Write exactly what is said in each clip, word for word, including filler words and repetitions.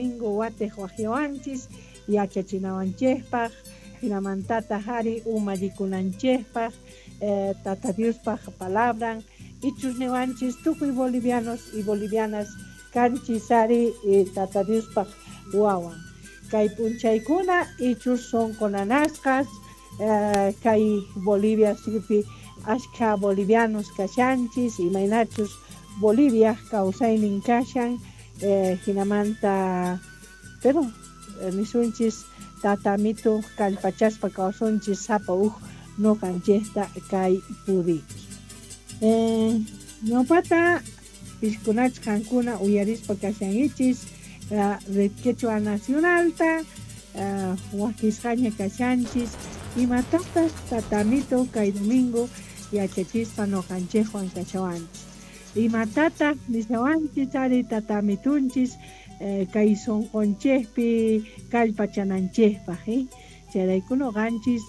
Domingo watej wajyawanchis yachachinawanchejpaj, jinamantataj ari umallikunanchejpaj, eh, Tata Diospaj palabran ichus niwanchis tukuy bolivianos y bolivianas kanchis ari eh, Tata Diospaj wawan. Kay p'unchaykuna ichus sonqo nanasqas, eh, kay Bolivia suyupi ashkha bolivianos kashanchis, imaynachus Bolivia kawsaynin kashan, eh, jinamanta pero eh, nisunchis Tata Amito kallpachaspa kawsunchis sapa uj noqanchejta kay puriki. Eh, ñawpata piskunach qankuna uyarispa kashankichis uh, Red Quechua Nacionalta, uh, wakisqaña kashanchis imatatas Tata Amito kay domingo yachachispa noqanchejwan kashawanchis, imatataq nishawanchis ari Tata Amitunchis eh, kay sonqonchejpi kallpachananchejpaj, eh? Chayrayku noqanchis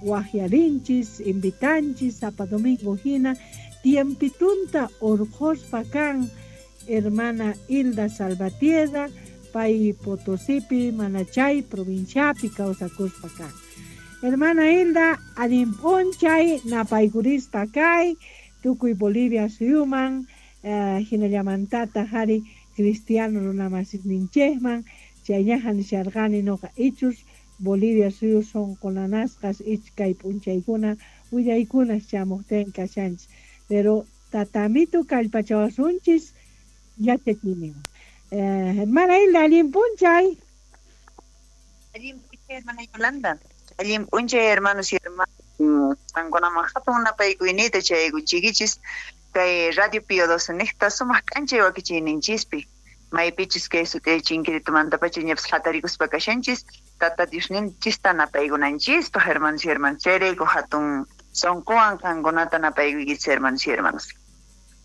wajyarinchis, invitanchis sapa domingo hina tiempitunta urqhuspa kan hermana Hilda Salvatierra, pay Potosipi Manachay provinciapi kawsakuspa kan. Hermana Hilda, allin p'unchay napaykurispa kay tukuy Bolivia suyuman, eh, hinallamantataq ari cristiano runamasisninchejman, chayñaja nisharqani noqa ichus Bolivia suyu sonqo nanasqas ichkay p'unchaykuna willaykunas chamuqtin kashanchis, pero Tata Amito kallpachawasunchis yachachiyninwan. Eh, hermana Hilda, allin p'unchay. Allin p'unchay, hermana Yolanda. Allin p'unchay, hermanos y hermanas. Qankunaman hatun napaykuyniyta chayaykuchiykichis kay Radio Pío doce niqta sumaq k'anchay wakichiyninchispi, maypichus kay sut'ay chinkiritumantapacha ñapas hatarikuspa kashanchis Tata Diosninchista napaykunanchispaj, hermanos y hermanas. Chayrayku hatun sonqowan qankunata napaykuykichis, hermanos y hermanas.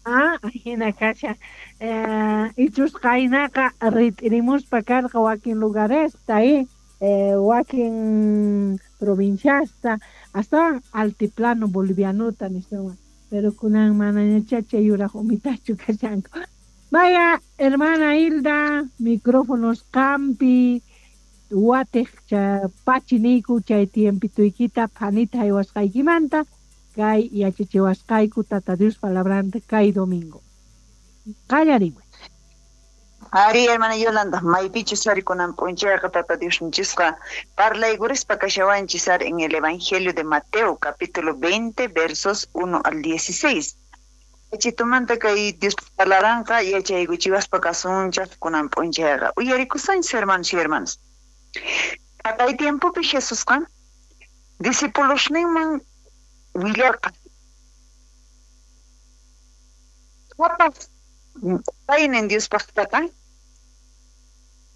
Ah, hina kasha. Eh, ichus qaynaqa rit'irimuspa karqa wakin lugaresta, eh, eh, wakin provinciasta, hasta altiplano bolivianota niswan, pero kunan manañacha chay yuraj umitachu kashanku. Vaya, hermana Hilda, micrófonos qampi, watej cha pachiniyku chay tiempituykita phanita haywasqaykimanta kay yachachiwasqayku Tata Dios palabranta kay domingo. Qallarimuy. Ari, hermana Yolanda, maypichus ari kunan p'unchayqa Tata Diosninchisqa parlaykurispa kashawanchis ari en el Evangelio de Mateo, capítulo veinte, versos uno al dieciséis. Chitumanta kay Dios palabranqa yachaykuchiwaspa kasunchaq kunan p'unchayqa. Uyarikusunchis, hermanos y hermanas. Kay tiempopi Jesusqa discipulosninman willarqa. Qhapaq paynin Diospaqtaqa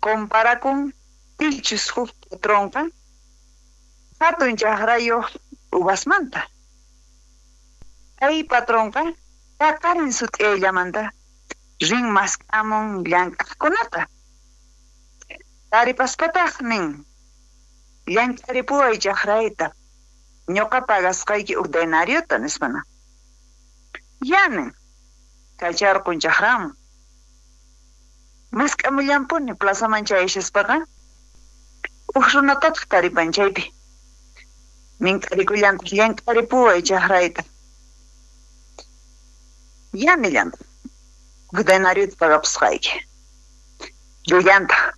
comparakun pichus huk patronqa hatun chakrayuq uvasmanta. Kay patronqa paqarin sut'ayllamanta rin mask'amun llank'aqkunata. Taripaspataq nin, llank'aripuway chakrayta, ñuqa pagasqayki huk denariota nispana. Ya nin, kacharqun chakraman. Mask'amullampuni plazaman chayashaspaqa huk runatataq taripan chaypi. Mink'arikullantaq llank'aripuway chakrayta. Ya nillantaq, huk denariota pagapusqayki. Llullantaq.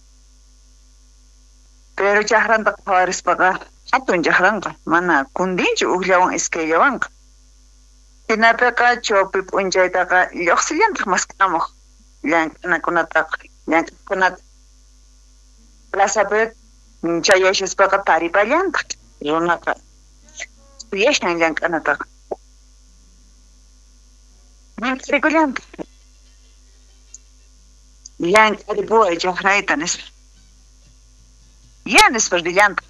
Pero chakranta qhawarispaqa hatun chakranqa mana kundinchu hukllawan iskayllawanqa. Hinapiqa chawpi p'unchaytaqa lluqsillantaq mask'amuq llank'anakunataqa llank'aqkunata. Plazapi chayashaspaqa taripallantaq runaqa suyashan llank'anataqa. Mink'arikullantaq. Llank'aripuway chakrayta nispa. Ya nispa rillantaq.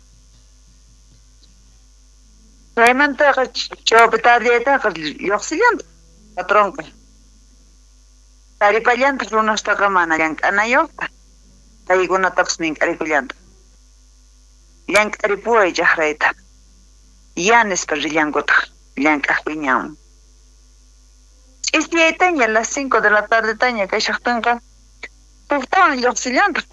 Chaymantaqa chawpi tardeytaqa lluqsillantaq patronqa. Taripallantaq runastaqa mana llank'anayuqta. Paykunatapas mink'arikullantaq. Llank'aripuway chakrayta. Ya nispa rillankutaq llank'aq wiñawan. Ch'isiyaytaña a las cinco de la tarde taña kashaqtinqa huktawan lluqsillantaq.